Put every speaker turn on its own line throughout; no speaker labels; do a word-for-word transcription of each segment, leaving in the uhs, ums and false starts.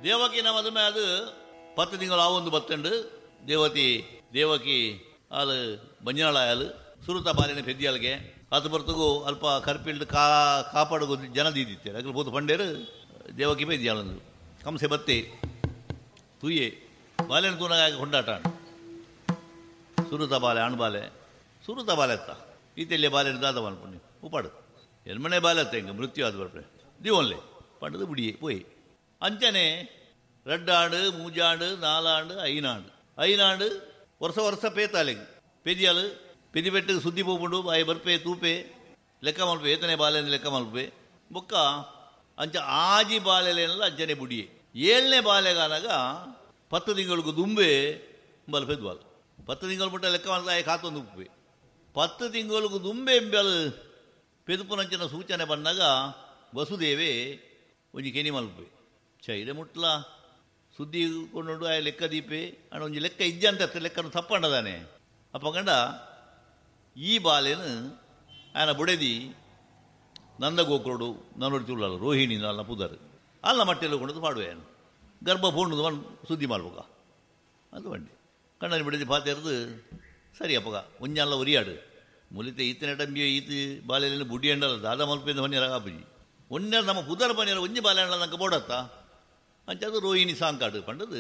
ದೇವಕಿನ ಮದುವೆ ಅದು ಪತ್ತು ತಿಂಗಳು ಆವೊಂದು ಬತ್ತಂಡು ದೇವತಿ ದೇವಕಿ ಆಲು ಬಂಜಾಳಾಯಲು ಸುರುತ ಬಾಲಿನ ಪೆದ್ದಿಯಾಲ್ಗೆ ಅದು ಬರ್ತಗೂ ಅಲ್ಪ ಕರ್ಪಿಲ್ಡ್ ಕಾ ಕಾಪಾಡು ಜನ ದೀದಿತ್ತೇರು ಅಗಲು ಬೋದು ಪಂಡೇರು ದೇವಕಿ ಪೆದ್ದಿಯಾಲಂದು ಕಂಸೆ ಬತ್ತಿ ತೂಯೆ ಬಾಲೆನ ತೂನಾಗ ಕೊಂಡಾಟ ಸುರುತ ಬಾಲೆ ಆಣ್ ಬಾಲೆ ಸುರುತ ಬಾಲೆ ಅತ್ತ ಈತೆಲ್ಲಿಯ ಬಾಲೆನ ದಾದ ಮಲ್ಪುಣ್ಣಿ ಉಪಾಡು ಎನ್ಮನೆ ಬಾಲೆ ಅತ್ತ ಹಿಂಗೆ ಮೃತ್ಯು ಆದ ಬರ್ಪೆ ದೀವನ್ಲೆ ಪಂಡದು ಬುಡಿಯೆ ಪೋಯಿ ಅಂಚನೆ ரெண்டாண்டு மூஜாண்டு நாலாண்டு ஐநாண்டு ಐನಾಂಡು ವರ್ಷ ವರ್ಷ ಪೇತಾಲೆಗ್ ಪೆದಿಯಾಲು ಪೆದಿಬೆಟ್ಟಿಗೆ ಸುದ್ದಿ ಪೋಪುಂಡು ಬಾಯಿ ಬರ್ಪೆ ತೂಪೆ ಲೆಕ್ಕ ಮಲ್ಪೆ ಏತನೆ ಬಾಲೆ ಲೆಕ್ಕ ಮಲ್ಪೆ ಬೊಕ್ಕ ಅಂಚ ಆಜಿ ಬಾಲೆಲೆಲ್ಲ ಅಂಚನೆ ಬುಡಿಯೆ ಏಳನೇ ಬಾಲೆಗಾನಾಗ ಪತ್ತು ತಿಂಗಳಿಗೆ ದುಂಬೆ ಬಲ್ ಪೆದ್ವಾಲ್ ಪತ್ತು ತಿಂಗಳು ಮುಟ್ಟ ಲೆಕ್ಕ ಮಲ್ತಾಯ ಕಾತೊಂದು ಉಪ್ಪೆ ಪತ್ತು ತಿಂಗಳಿಗೆ ದುಂಬೆ ಎಂಬಲ್ ಪೆದುಪುನಂಚಿನ ಸೂಚನೆ ಬಂದಾಗ ವಸುದೇವೆ ಒಂಜಿ ಕೆನಿ ಮಲ್ಪೆ ಚೈರೆ ಮುಟ್ಲ ಸುದ್ದಿ ಕೊಂಡು ಆ ಲೆಕ್ಕ ದೀಪೆ ಅಣ್ಣ ಒಂಜಿ ಲೆಕ್ಕ ಇಜ್ಜ ಅಂತ ಲೆಕ್ಕನು ತಪ್ಪಂಡದಾನೆ ಅಪ್ಪ ಗಂಡ ಈ ಬಾಲೆನು ಆಯನ ಬುಡೆದಿ ನಂದಗೋಕುರುಡು ನನ್ನೊಡಿ ತುಳ್ಳಲ್ಲ ರೋಹಿಣಿ ಅಲ್ಲ ಪುದರ್ ಅಲ್ಲ ಮಟ್ಟೆಲ್ಲ ಕೊಂಡು ಪಾಡುವೆ ಗರ್ಭ ಪೂರ್ಣದು ಒನ್ ಸುದ್ದಿ ಮಾಡ್ಬೇಕ ಅದು ಬಂಡಿ ಕಣ್ಣಲ್ಲಿ ಬಿಡದಿ ಪಾತೆರ್ದು ಸರಿ ಅಪ್ಪಗ ಒಂಜಲ್ಲ ಒರಿಯಾಡು ಮುಲಿತೆ ಈತನ ಟಂಬಿಯೋ ಈತ ಬಾಲೆಯಲ್ಲಿ ಬುಡಿ ಅಂಡಲ್ಲ ದಾದ ಮಲ್ಪಿಂದ ಹೊನ್ನಿರ ಕಾಪುಜಿ ಒನ್ನೆ ನಮ್ಮ ಪುದರ್ ಬನ್ನಿರ ಒಂಜಿ ಬಾಲೆ ಅಂಡಲ್ಲ ನಂಗೆ ಬೋಡತ್ತ ಅಂಚದು ರೋಹಿಣಿ ಸಾಂಕಾಡು ಪಂಡದು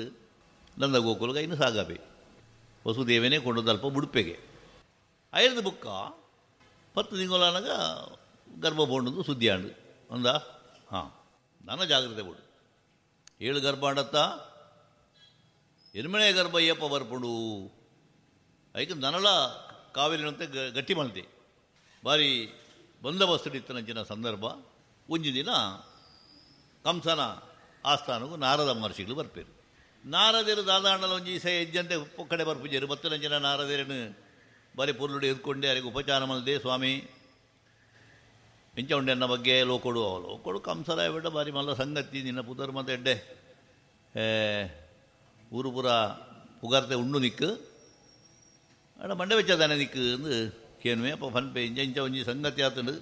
ನಂದ ಗೋಕುಲಗ ಇನ್ನು ಸಾಗಾಪೆ ವಸುದೇವನೇ ಕೊಂಡದಲ್ಪ ಬುಡುಪೆಗೆ ಐದು ಬುಕ್ಕ ಪತ್ತು ತಿಂಗಳಾನಾಗ ಗರ್ಭ ಬೋಂಡದು ಸುದ್ದಿ ಆಂಡು ಅಂದ ಹಾಂ ನನ್ನ ಜಾಗ್ರತೆ ಬೋಡು ಏಳು ಗರ್ಭ ಆಂಡತ್ತ ಎನ್ಮನೆ ಗರ್ಭ ಏಪ ಬರ್ಪುಂಡು ಐಕ ನನಲ ಕಾವೇರಿನಂತೆ ಗಟ್ಟಿ ಮಲ್ತೆ ಭಾರಿ ಬಂದೋಬಸ್ತು ಇತ್ತನಂಚಿನ ಸಂದರ್ಭ ಒಂಜಿ ದಿನ ಕಂಸನ ಆಸ್ಥಾನಕ್ಕೂ ನಾರದ ಮಹರ್ಷಿಗಳು ಬರ್ಪೇರು ನಾರದೇರು ದಾದಾಂಡಲ ಒಂಜಿ ಸೆ ಹೆಜ್ಜಂತೆ ಕಡೆ ಬರ್ಪುಜೇರು ಬತ್ತನಂಚಿನ ನಾರದೇರನು ಬಾರಿ ಪೊರ್ಲುಡು ಎದ್ಕೊಂಡೆ ಅವರಿಗೆ ಉಪಚಾರ ಮಲ್ದೆ ಸ್ವಾಮಿ ಇಂಚ ಉಂಡೆ ಅನ್ನ ಬಗ್ಗೆ ಲೋಕೊಡು ಲೋಕೊಡು ಕಂಸರ ಬಿಟ್ಟ ಬಾರಿ ಮಲ್ಲ ಸಂಗತಿ ನಿನ್ನ ಪುದರ್ ಮತ್ತೆ ಎಡ್ಡೆ ಊರು ಪೂರ ಪುಗಾರ್ತೆ ಉಂಡು ನಿಕ್ಕು ಅಡ ಮಂಡೆ ವೆಚ್ಚದಾನೆ ನಿಕ್ಕು ಅಂದು ಕೇನುವೆ ಅಪ್ಪ ಫನ್ಪೆ ಇಂಚ ಇಂಚ ಒಂಜಿ ಸಂಗತಿ ಆತಂಡು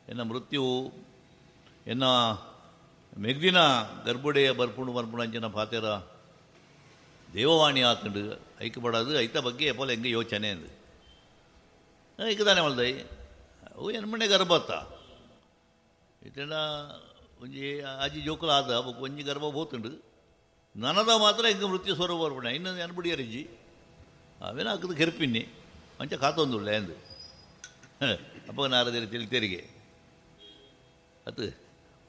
ಎನ್ನ ಮೃತ್ಯು ಎನ್ನ ಮೆಗ್ದಿನ ಗರ್ಭುಡೆಯ ಬರ್ಪುಂಡು ಬರ್ಪುಂಡು ಅಂಚಿನ ಪಾತೆರ ದೇವವಾಣಿ ಆತಂಡು ಐಕ್ ಪಡೋದು ಐತ ಬಗ್ಗೆ ಎಪ್ಪಲ ಹೆಂಗೆ ಯೋಚನೆ ಅಂದು ಐಕದಾನೆ ಮಲ್ದೈ ಅವು ಎನ್ಮನೆ ಗರ್ಭತ್ತ ಇತನ ಒಂಜಿ ಆಜಿ ಜೋಕುಲ ಆದ ಒಂಜಿ ಗರ್ಭ ಬೋತುಂಡು ನನದ ಮಾತ್ರ ಹಿಂಗೆ ಮೃತ್ಯು ಸ್ವರೂಪ ಬರ್ಪುಂಡ ಇನ್ನು ಎನ್ಬಿಡಿಯರಿಜ್ಜಿ ಅವೇನ ಹಾಕದು ಕೆರ್ಪಿನ್ನಿ ಅಂಚ ಕಾತೊಂದುಳ್ಳೆ ಅಂದು ಅಪ್ಪ ನಾರದಿರಿ ತಿಳಿತೇರಿಗೆ ಅದು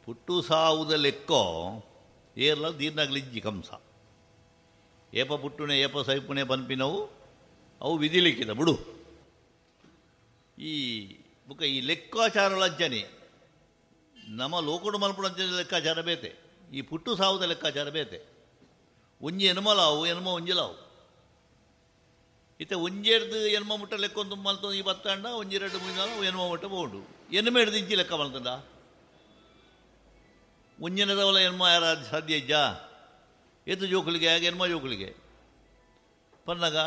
ಪುಟ್ಟು ಸಾವುದ ಲೆಕ್ಕೋ ಏರ್ಲ ದೀರ್ನಾಗ್ಲಿಜ್ಜಿ ಕಂಸ ಏಪ ಪುಟ್ಟುನೆ ಏಪ ಸೈಪುಣೆ ಪನ್ಪಿನವು ಅವು ವಿಧಿಲಿಕ್ಕಿದ ಬಿಡು ಈ ಬುಕ್ಕ ಈ ಲೆಕ್ಕಾಚಾರಗಳಂಚನೆ ನಮ್ಮ ಲೋಕಡು ಮಲ್ಪುಡಂಚನೆ ಲೆಕ್ಕಾಚಾರ ಬೇತೆ ಈ ಪುಟ್ಟು ಸಾವುದ ಲೆಕ್ಕಾಚಾರ ಬೇತೆ ಒಂಜಿ ಎನ್ಮಲಾವು ಎನ್ಮ ಒಂಜಿಲಾವು ಇತ್ತೆ ಒಂಜೇರ್ದು ಎನ್ಮ ಮುಟ್ಟ ಲೆಕ್ಕೊಂದು ಮಲ್ತೊಂದು ಈ ಬತ್ತಾಂಡ ಒಂಜಿ ಎರಡು ಮುಂಜಾಲ ಎನ್ಮ ಮುಟ್ಟ ಬೋಂಡು ಎನ್ಮ ಹಿಡ್ದು ಇಂಚಿ ಲೆಕ್ಕ ಮಲ್ತಂಡ ಒಂಜಿನದವಲ ಎನ್ಮ ಯಾರ ಸಾಧ್ಯ ಇಜ್ಜಾ ಏತು ಜೋಕುಲಿಗೆ ಆಗ ಎನ್ಮ ಜೋಕುಲಿಗೆ ಪನ್ನಾಗ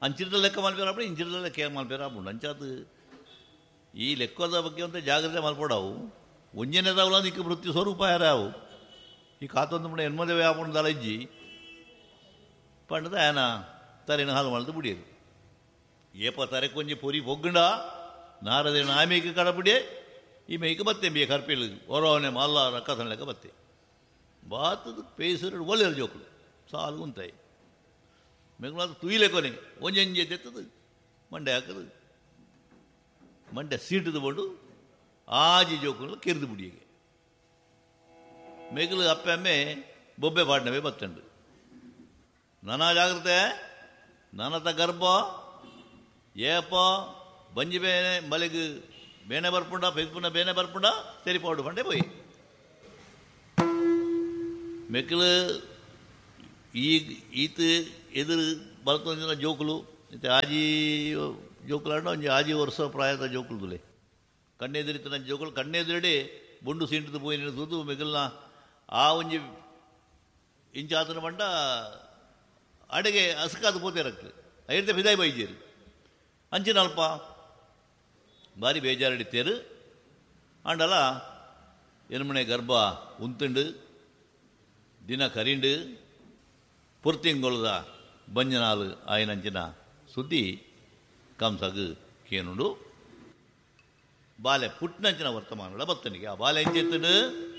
ಅಂಚಿರದ ಲೆಕ್ಕ ಮಲ್ಪೇರಾಪುಂಡು ಇಂಚಿರದ ಲೆಕ್ಕ ಮಲ್ಪೇರಾಪುಂಡು ಅಂಚಾತು ಈ ಲೆಕ್ಕದ ಬಗ್ಗೆ ಅಂತ ಜಾಗ್ರತೆ ಮಲ್ಪಡವು ಒಂಜನೆದವಲ ನಿಕ್ಕ ಮೃತ್ಯು ಸ್ವರೂಪ ಯಾರಾವು ಈ ಕಾತೊಂದು ಮುಡ ಎನ್ಮದೇವೆ ಆಪುಂಡು ದಲ ಇಜ್ಜಿ ಪಂಡದ ಆಯನ ತರೆನ ಹಾಲು ಮಲ್ದು ಬುಡಿಯದು ಏಪ ತರೆ ಕೊಂಜಿ ಪೊರಿ ಪೊಗ್ಗುಂಡ ನಾರದೇನ ಆಮೇಕೆ ಕಡಪುಡಿಯೆ ಈ ಮೇಯ್ಕೆ ಬತ್ತೆ ಬೇ ಕರ್ಪಿಲ್ ಹೊರವನೆ ಮಲ್ಲ ರಕ್ಕಸನ ಲೆಕ್ಕ ಬತ್ತೆ ಬಾತದ ಪೇಸರು ಒಳ್ಳೆಯರು ಜೋಕುಲು ಸಾಲು ಉಂತಾಯಿ ಮೆಗ್ಲಾದ ತುಯಿಲೆ ಕೊನೆ ಒಂಜಂಜೆ ತೆತ್ತದು ಮಂಡೆ ಹಾಕದು ಮಂಡೆ ಸೀಟದ ಬೋಡು ಆಜಿ ಜೋಕುಲು ಕೆರೆದು ಬುಡಿಯಗೆ ಮೆಗ್ಲು ಅಪ್ಪೆ ಬೊಬ್ಬೆ ಪಾಡ್ನವೇ ಬತ್ತಂಡು ನಾನಾ ಜಾಗ್ರತೆ ನಾನತ ಗರ್ಭ ಏಪ ಬಂಜಿ ಬೇನೆ ಮಲೆಗ್ ಬೇನೆ ಬರ್ಪುಂಡ ಪೆದ್ಪುಂಡ ಬೇನೆ ಬರ್ಪುಂಡ ಸರಿ ಪೌಡು ಪಂಡೆ ಪೋಯಿ ಮೆಕ್ಲು ಈ ಈತ ಎದುರು ಬಲ್ತೊಂದಿನ ಜೋಕುಲು ಇತ್ತೆ ಆಜಿ ಜೋಕುಲಾಂಡ ಒಂಜಿ ಆಜಿ ವರ್ಷ ಪ್ರಾಯದ ಜೋಕುಲು ಕಣ್ಣೆದುರಿತನ ಜೋಕುಲು ಕಣ್ಣೆದುರಡೆ ಬೊಂಡು ಸೀಂಟದ ಪೋಯಿನ ತೂದು ಮೆಗಲ್ನ ಆ ಒಂಜಿ ಇಂಚಾತನ ಬಂಡ ಅಡೆಗೆ ಅಸ್ಕಾದ ಪೋತೇರಕ್ತು ಐರ್ತೆ ಫಿದಾಯಿ ಬೈಜೇರು ಅಂಚಿನ ಅಲ್ಪ ಭಾರಿ ಬೇಜಾರಡಿತೇರು ಆಂಡಲ ಎನ್ಮನೆ ಗರ್ಭ ಉಂತುಂಡು ದಿನ ಕರಿಂಡು ಪುರ್ತಿಂಗೊಳದ ಬಂಜನಾಲು ಆಯನಂಚಿನ ಸುದ್ದಿ ಕಂಸಗ್ ಕೇನುಂಡು. ಬಾಲೆ ಪುಟ್ನಂಚಿನ ವರ್ತಮಾನಗಳ ಬತ್ತನಿಗೆ ಆ ಬಾಲೆ ಎಂಚೆತ್ತುಂಡು?